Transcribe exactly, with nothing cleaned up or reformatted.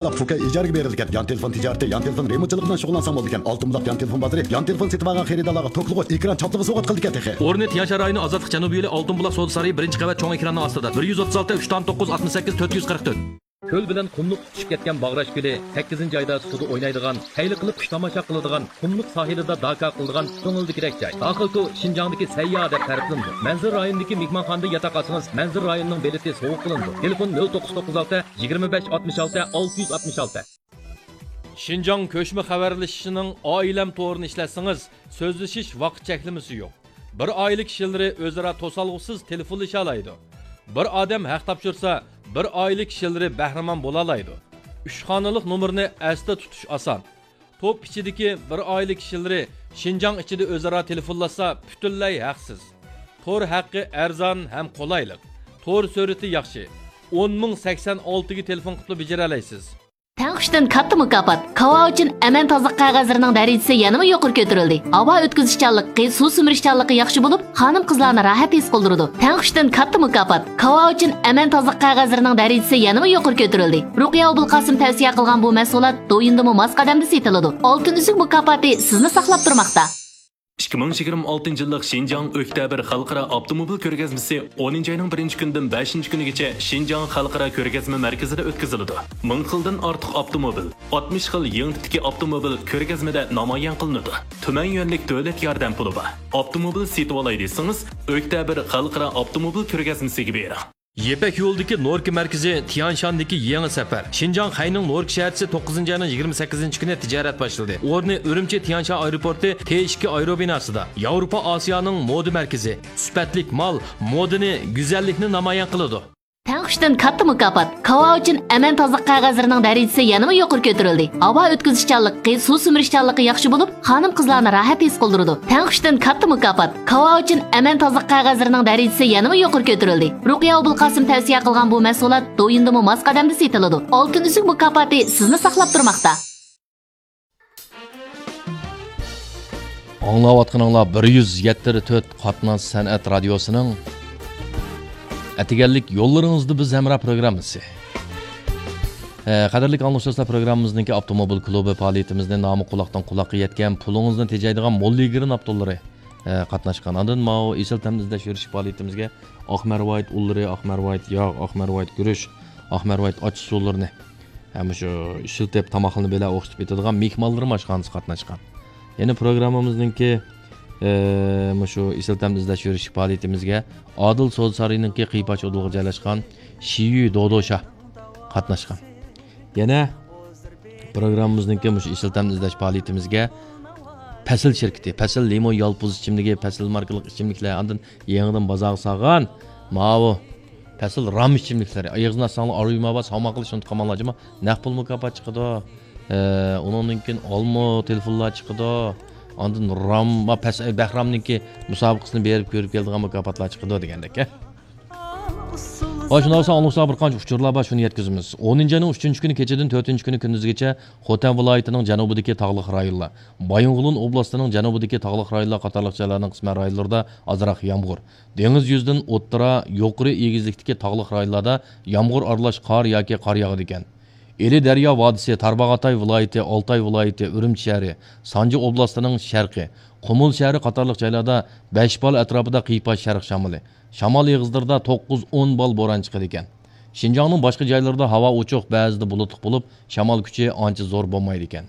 پۇكەي ئىجارىگە بېرىدىكەن. يان تېلېفون تىجارىتى، يان تېلېفون رېمونتچىلىقى بىلەن شۇغۇللانساڭ بولىدىكەن. ئالتۇن بۇلاق يان تېلېفون بازىرى يان تېلېفون سېتىۋالغان خېرىدارلارغا توكلىغۇچ، ئېكران چاپلىغۇچ سوۋغات قىلىدىكەن تېخى. ئورنى تيەنشان رايونى ئازادلىق جەنۇبىي يولى ئالتۇن بۇلاق سودا سارىيى بىرىنچى قەۋەت چوڭ ئېكراننىڭ ئاستىدا. بىر يۈز ئوتتۇز ئالتە، ئۈچ تان توققۇز، ئاتمىش سەككىز، تۆت يۈز قىرىق تۆت. كۆل بىلەن قۇملۇق تۇتىشىپ كەتكەن باغراش كۆلى سەككىزىنچى ئايدا سۇدا ئوينايدىغان، خەير قىلىپ قۇش تاماشا قىلىدىغان، قۇملۇق ساھىلىدا داكا قىلىدىغان كۆڭۈلدىكىدەك جاي. داخىلكو شىنجاڭدىكى سەيياھ دەپ تەرىپلىنىدۇ. مەنزىرە رايونىدىكى مېھمانخانىدا ياتاق ئالسىڭىز، مەنزىرە رايونىنىڭ بېلىتى سوۋغا قىلىنىدۇ. تېلېفون: نۆل توققۇز توققۇز ئالتە، يىگىرمە بەش، ئاتمىش ئالتە، ئالتە يۈز ئاتمىش ئالتە. شىنجاڭ كۆچمە خەۋەرلىشىشىنىڭ ئائىلەم تورىنى ئىشلەتسىڭىز، سۆزلىشىش ۋاقىت چەكلىمىسى يوق. بىر ئائىلە كىشىلىرى ئۆزئارا توسالغۇسىز تېلېفونلىشالايدۇ. بىر ئادەم ھەق تاپشۇرسا، بىر ئائىلە كىشىلىرى بەھرىمەن بولالايدۇ. ئۈچ خانىلىق نومۇرنى ئەستە تۇتۇش ئاسان. توپ ئىچىدىكى بىر ئائىلە كىشىلىرى شىنجاڭ ئىچىدە ئۆزئارا تېلېفونلاشسا، پۈتۈنلەي ھەقسىز. تور ھەققى ئەرزان ھەم قولايلىق. تور سۈرئىتى ياخشى. ئون مىڭ سەكسەن ئالتىگە تېلېفون قىلىپلا بېجىرەلەيسىز. تەڭقۇشتىن كاتتا مۇكاپات. كاۋاۋىچىن ئەمەن تازىلىق قەغەزلىرىنىڭ دەرىجىسى يەنىمۇ يۇقىرى كۆتۈرۈلدى. ھاۋا ئۆتكۈزۈشچانلىقى، سۇ سۈمۈرۈشچانلىقى ياخشى بولۇپ، خانىم-قىزلارنى راھەت ھېس قىلدۇرىدۇ. تەڭقۇشتىن كاتتا مۇكاپات. كاۋاۋىچىن ئەمەن تازىلىق قەغەزلىرىنىڭ دەرىجىسى يەنىمۇ يۇقىرى كۆتۈرۈلدى. رۇقىيە ئوبۇلقاسىم تەۋسىيە قىلغان بۇ مەھسۇلات دويىندىمۇ ماس قەدەمدە سېتىلىدۇ. ئالتۇن ئۈزۈك مۇكاپاتى سىزنى ساقلاپ تۇرماقتا. ئىككى مىڭ يىگىرمە ئالتىنچى يىللىق شىنجاڭ ئۆكتەبىر خەلقئارا ئاپتوموبىل كۆرگەزمىسى ئونىنچى ئاينىڭ بىرىنچى كۈنىدىن بەشىنچى كۈنىگىچە شىنجاڭ خەلقئارا كۆرگەزمە مەركىزىدە ئۆتكۈزۈلىدۇ. مىڭ خىلدىن ئارتۇق ئاپتوموبىل، ئاتمىش خىل يېڭى تىپتىكى ئاپتوموبىل كۆرگەزمىدە نامايان قىلىنىدۇ. تۈمەن يۈەنلىك دۆلەت ياردەم پۇلى بار. ئاپتوموبىل سېتىۋالاي دېسىڭىز، ئۆكتەبىر خەلقئارا ئاپتوموبىل كۆرگەزمىسىگە بېرىڭ. يىپەك يولىدىكى نوركا مەركىزى تيانشاندىكى يېڭى سەپەر. شىنجاڭ خەينىڭ نوركا شەھەرچىسى توققۇزىنچى ئاينىڭ يىگىرمە سەككىزىنچى كۈنى تىجارەت باشلىدى. ئورنى ئۈرۈمچى تيانشان ئايروپورتى تې ئىككى ئايروبىناسىدا. ياۋروپا ئاسىيانىڭ مودا مەركىزى. سۈپەتلىك مال، مودىنى، گۈزەللىكنى نامايان قىلىدۇ. تەڭقۇشتىن كاتتا مۇكاپات. كاۋاۋىچىن ئەمەن تازىلىق قەغەزلىرىنىڭ دەرىجىسى يەنىمۇ يۇقىرى كۆتۈرۈلدى. ھاۋا ئۆتكۈزۈشچانلىقى، سۇ سۈمۈرۈشچانلىقى ياخشى بولۇپ، خانىم-قىزلارنى راھەت ھېس قىلدۇرىدۇ. تەڭقۇشتىن كاتتا مۇكاپات. كاۋاۋىچىن ئەمەن تازىلىق قەغەزلىرىنىڭ دەرىجىسى يەنىمۇ يۇقىرى كۆتۈرۈلدى. رۇقىيە ئوبۇلقاسىم تەۋسىيە قىلغان بۇ مەھسۇلات دويىندىمۇ ماس قەدەمدە سېتىلىدۇ. ئالتۇن ئۈزۈك مۇكاپاتى سىزنى ساقلاپ تۇرماقتا. ئاڭلاۋاتقىنىڭلار بىر يۈز يەتتە تۆت قاتناش سەنئەت رادىيوسىنىڭ ئەتىگەنلىك يوللىرىڭىزدا بىز ھەمراھ پروگراممىسى. ئە، قەدىرلىك ئاڭلىغۇچىلار، پروگراممىمىزنىڭكى ئاپتوموبىل كلۇبى پائالىيىتىمىزنى نامى قۇلاقتىن قۇلاققا يەتكەن، پۇلىڭىزنى تېجەيدىغان مول يىگىرىن ئاپتونلىرى، ئە، قاتناشقان. ئاندىن ماۋۇ ئېسىل تەمنى ئىزدەش يۈرۈش پائالىيىتىمىزگە ئاق مەرۋايىت ئۇنلىرى، ئاق مەرۋايىت ياغ، ئاق مەرۋايىت گۈرۈچ، ئاق مەرۋايىت ئاچچىقسۇلىرىنى ھەم مۇشۇ ئىشلىتىپ، تاماقلىرىنى بىلەن ئوخشىتىپ ئېتىدىغان مېھمانلىرىم ئاشخانىسى قاتناشقان. يەنە پروگراممىمىزنىڭكى، ئى، مۇشۇ ئېسىل تەمنى ئىزدەش يۈرۈش پائالىيىتىمىزگە ئادىل سودا سارىيىنىڭكى قىيپاچ ئۇدۇلغا جايلاشقان شىيۈ دودوشا قاتناشقان. يەنە پروگراممىمىزنىڭكى مۇشۇ ئېسىل تەمنى ئىزدەش پائالىيىتىمىزگە پەسىل شىركىتى، پەسىل لىمون يالپۇز ئىچىملىكى، پەسىل ماركىلىق ئىچىملىكلەر، ئاندىن يېڭىدىن بازارغا سالغان ماۋۇ پەسىل رام ئىچىملىكلىرى. ئېغىزنى ئاچساڭلار ئارۇيما بار، ساۋمان قىلىش ئۇنتۇپ قالماڭلار جۇمۇ. نەق پۇل مۇكاپات چىقىدۇ. ئە، ئۇنىڭدىن كېيىن ئالما تېلېفونلار چىقىدۇ. ئاندىن رام، پەس-، بەھرامنىڭكى مۇسابىقىسىنى بېرىپ كۆرۈپ كېلىدىغان مۇكاپاتلار چىقىدۇ دېگەندەك. ھە، شۇنداق بولسا ئاڭلىغۇچىلارغا بىر قانچە ئۇچۇرلار بار، شۇنى يەتكۈزىمىز. ئونىنچى ئاينىڭ ئۈچىنچى كۈنى كېچىدىن تۆتىنچى كۈنى كۈندۈزگىچە خوتەن ۋىلايىتىنىڭ جەنۇبىدىكى تاغلىق رايونلار، بايىنغولىن ئوبلاستىنىڭ جەنۇبىدىكى تاغلىق رايونلار قاتارلىق جايلارنىڭ قىسمەن رايونلىرىدا ئازراق يامغۇر، دېڭىز يۈزىدىن ئوتتۇرا، يۇقىرى ئېگىزلىكتىكى تاغلىق رايونلاردا يامغۇر ئارىلاش قار ياكى قار ياغىدىكەن. ئىلى دەريا ۋادىسى، تارباغاتاي ۋىلايىتى، ئالتاي ۋىلايىتى، ئۈرۈمچى شەھىرى، سانجى ئوبلاستىنىڭ شەرقى، قۇمۇل شەھىرى قاتارلىق جايلاردا بەش بال ئەتراپىدا قىيپاش شەرق شامىلى، شامال ئېغىزلىرىدا توققۇز ئون بال بوران چىقىدىكەن. شىنجاڭنىڭ باشقا جايلىرىدا ھاۋا ئوچۇق، بەزىدە بۇلۇتلۇق بولۇپ، شامال كۈچى ئانچە زور بولمايدىكەن.